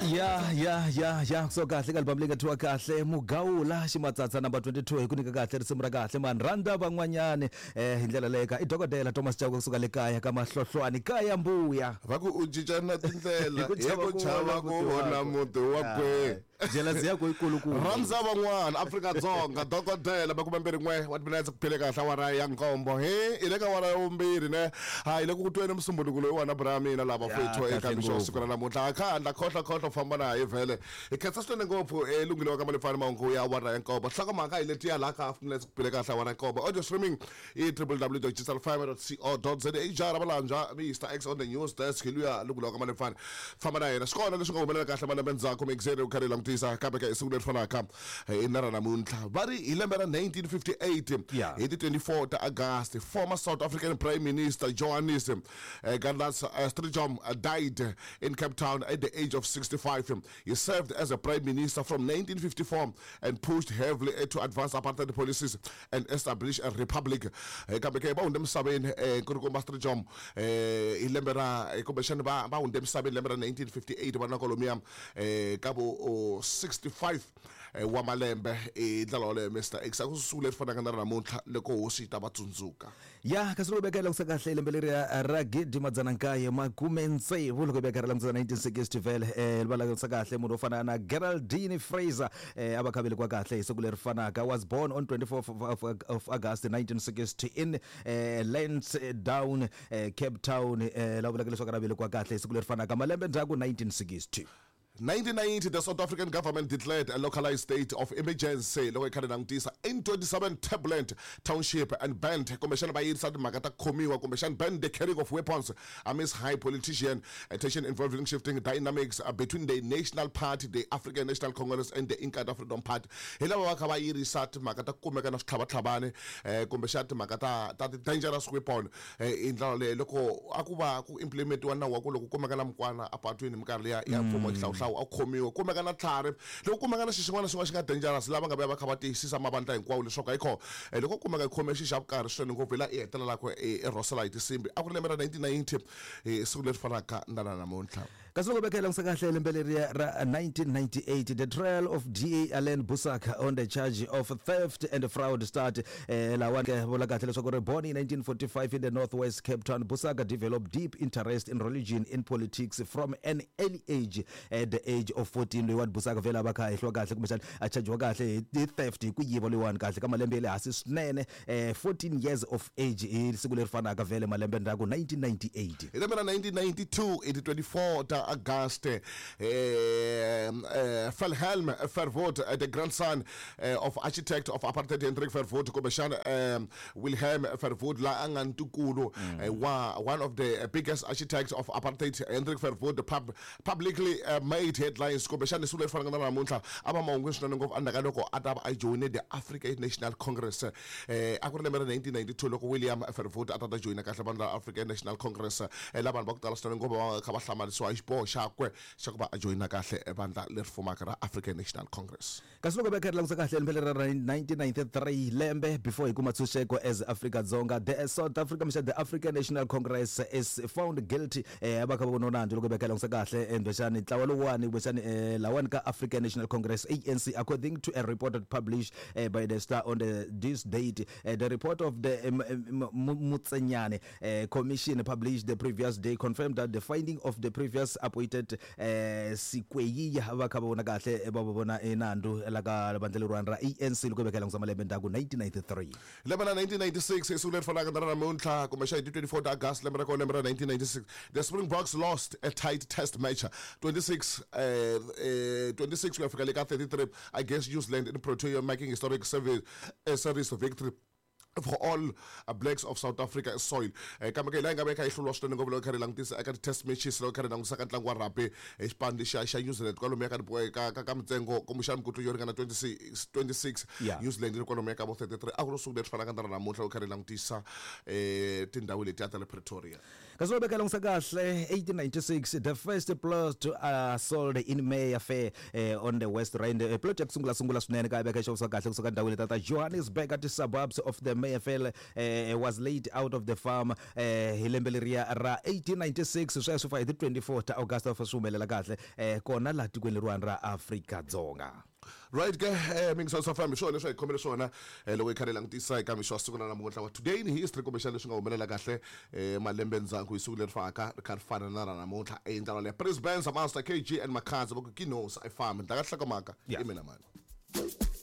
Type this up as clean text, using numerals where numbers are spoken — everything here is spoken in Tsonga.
Ya ya ya ya, so kahle ka album leyi nga thyiwa kahle Mugawula Ximatsatsa number 22, hi ku nyika kahle risimu ra kahle mani rhandza van'wanyani hi ndlela leyi ka i dokodela Thomas Chauke kusuka le kaya ka Mahlohlwani kaya mbuya. Va ku u cincana tindlela hi ku chava ku vona muti wa kwe. Jealousy yakwe yikulukumba. Rhandza van'wana Afrika-Dzonga dokodela 21 wa timinetse ku phele kahle awara ya nkombo he hi le ka awara ya vumbirhi ne ha hi le ku tweni musumbuluko loyiwani bra mina lava fethu eka mixo wa siku ra namuntlha kha handla khohlo khohlo famba na hi vhele hi khensa swinene ngopfu elunghile wa ka malefani mahungu ya awara ya nkombo nhlokomhaka hi letiya laha ka minetse ku phele kahle awara ya nkombo audio streaming i www.digitalfm.co.za jara valanja Mr X on the news desk hi luya lunghile wa ka malefani famba na yena swi kona leswi nga humelela kahle malembe ndzhaku mixere u karhi hi langutisa kambe ka hi siku leri fanaka hi na ra namuntlha va ri hi lembe ra 1958 hi ti 24 ta August former South African Prime Minister Johannes Gardner Strijdom died in Cape Town at the age of 65. He served as a prime minister from 1954 and pushed heavily to advance apartheid policies and establish a republic. Kambe ke va hundze misaveni nkulukumba Strijdom hi lembe ra kumbexana va va hundze misaveni lembe ra 1958 va na kwalomuya ka vo 65 wa malembe hi ndlela yoleyo Mr X a ku siku leri fanaka na ra namuntlha loko hosi yi ta va tsundzuka. Ya kasi loko veka langutisa kahle lembe leriya ra gidi madzana nkaye makume tsevu loko veka ra langutisa 1960 vhele va langutisa kahle munhu wo fana na Geraldine Fraser a va kha velekiwa kahle hi siku leri fanaka, was born on 24 of August 1960 in Lansdowne, Cape Town, la vulaka leswaku ra velekiwa kahle hi siku leri fanaka malembe ndzhaku 1960. 1990, the South African government declared a localized state of emergency loko yi kha yi langutisa in 27 turbulent township and banned kumbexana va yirisa timhaka ta ku khomiwa kumbexana banned the carrying of weapons amidst high politician tension involving shifting dynamics between the National Party, the African National Congress and the Inkatha Freedom Party. Hi lava va kha va yirisa timhaka ta ku kumeka na switlhavatlhavani kumbexana timhaka ta ta ti-dangerous weapon hi ndlela leyo loko a ku va ku implementiwa nawu wa ku loko kumeka na mukwana apatwini hi minkarhi liya ya mfumo wa xihlawuhlawu a ku khomiwa kumeka na tlhari loko kumeka na xi xin'wana na xin'wana xi nga dangerous lava nga vuya va kha va tiyisisa mavandla hinkwawo leswaku ayikho loko kumeka yi khome xi xa vukarhi swinene ngopfu hi laha i hetelelaka i rhosela hi tinsimbi a ku ri lembe ra 1990 hi siku leri fanaka na ra namuntlha. Kasi loko veka langutisa kahle lembe leriya ra 1998, the trial of DA Allan Boesak on the charge of theft and fraud start. Lawani ke vula kahle leswaku ri born in 1945 in the northwest Cape Town, Boesak developed deep interest in religion in politics from an early age. At the age of 14, loyiwani Boesak vhele a va kha a hehliwa kahle kumbexana a chajiwa kahle hi theft, hi ku yiva loyiwani kahle ka malembe ya le hansi swinene, 14 years of age hi siku leri fanaka vhele malembe ndzhaku 1998. Hi lembe ra 1992 hi ti 24 ta August, Wilhelm Verwoerd, the grandson of architect of apartheid Hendrik Verwoerd, kumbexana Wilhelm Verwoerd la a nga ntukulu wa one of the biggest architects of apartheid Hendrik Verwoerd, publicly made headlines kumbexana siku leri fanaka na namuntlha a va mahungwini swinene ngopfu endzhaku ka loko a ta va a joyine the African National Congress. A ku ri lembe ra 1992 loko William Verwoerd a ta ta joyina kahle vandla ra African National Congress, laha vanhu va ku tala swinene ngopfu va kha va hlamarisiwa hi xiboho xakwe xa ku va a joyina kahle vandla leri fumaka ra African National Congress. Kasi loko va kha ri langusa kahle lembe leri ra 1993, lembe before hi kuma tshunxeko as Afrika-Dzonga, the South Africa mixana the African National Congress is found guilty, va kha va vona nandzu loko va kha langusa kahle kumbexani ntlawa lowuwani kumbexani lawani ka African National Congress, ANC, according to a report that published by the Star on the this date. The report of the Motsenyane Commission published the previous day confirmed that the finding of the previous appointed Sikweyiya va kha va vona kahle va vona nandzu la ka vandla leriwani ra ANC loko va kha langusa malembe ndzhaku 1993. Lembe ra 1996 hi siku leri fanaka na ra namuntlha kumbexana hi ti 24 ta August lembe ra kona lembe ra 1996 the Springboks lost a tight test match 26 26 ku ya fika le ka 33 against New Zealand in Pretoria, making historic series victory for all blacks of South Africa soil. Kambe ke laha yi nga va yi kha yi hluriwa swinene ngopfu loko yi kha yi langutisa eka ti-test matches loko yi kha yi langutisa ka ntlangu wa rugby hi xipano lexiya xa New Zealand kwalomuya ka ka ka ka mintsengo kumbexana mikutlu yo ringana 26 26 New Zealand yi ri kwalomuya ka vo 33 a ku ri siku leri fanaka na ra namuntlha loko yi kha yi langutisa tindhawu letiya ta le Pretoria. Kasi loko veka langutisa kahle 1896, the first plot sold in Mayfair on the West Rand. Plot ya ku sungula sungula swinene ka veka xavisiwa kahle kusuka ndhawini ta ta Johannesburg at suburbs of the Mayfair was laid out of the farm hi lembe leriya ra 1896. Sweswo fa hi ti 24 ta August swi humelela kahle kona laha tikweni leriwani ra Afrika-Dzonga. Right ke, mingiswa swa fambi swona leswi hi khomele swona loko hi kha hi langutisa eka mixo wa siku ra namuntlha wa Today in History, kumbexana leswi nga humelela kahle malembe ndzhaku hi siku leri faka ri kha ri fana na ra namuntlha. Endlalo leya Prince Benz, Master KG and Makhadzi va ku Kinos i fambi ndlaka hlokomhaka. I mina mani.